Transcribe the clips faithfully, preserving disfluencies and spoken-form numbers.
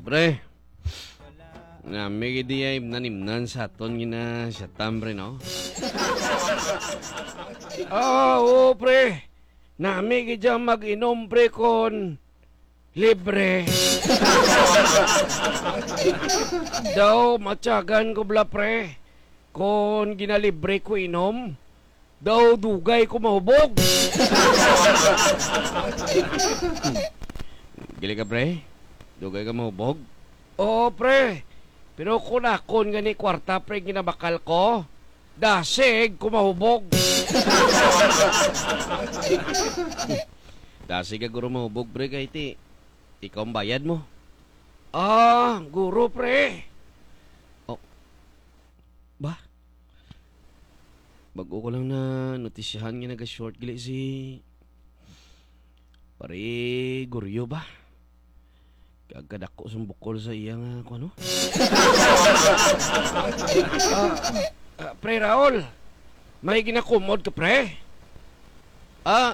Pre, nami gid diay nanimnan sa aton gina-shot-an, pre, no? Ah, oo, pre. Nami gid diay mag-inom, pre, kon libre. Daw, matyagan ko bala, pre. Kon ginalibre ko inom, daw dugay ko mahubog. Gali ka, pre? Dugay ka mahubog? Oo, pre. Pero kung akon gani kwarta, pre, ginabakal ko, dasig ko mahubog. Dasig ka guro mahubog, pre, kay ti, ikaw ang bayad mo. Ah, guro, pre. Oh. Ba? Bago ko lang na notisyahan nga naga-short gali si Pare Goryo ba? Kag kadako sang bukol sa iya nga, kuno? Ah, ah, Pre Raul, may ginakumod ka, pre? Ah,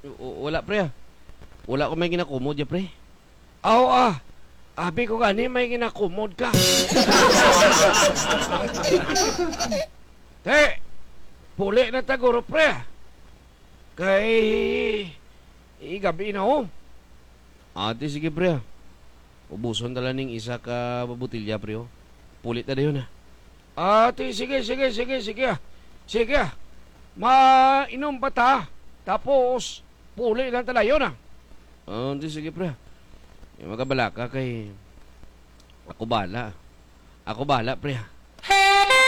w-, wala, pre, ah. Wala ko may ginakumod ya, pre. Aw, ah, abi ko gani may ginakumod ka. Te, puli na ta guro, pre. Kay, igabi na, oh. Ate, sige, pre, ah. Ubuson ta lang ning isa ka botilya, pre, oh. Puli ta dayon, ah. Ate, sige, sige, sige, sige, ah. Sige, ah. Mainom pa ta. Tapos, puli lang ta dayon, ah. Ah, ate, sige, pre. Ay, magabalaka kay ako bala. Ako bala, pre, ah.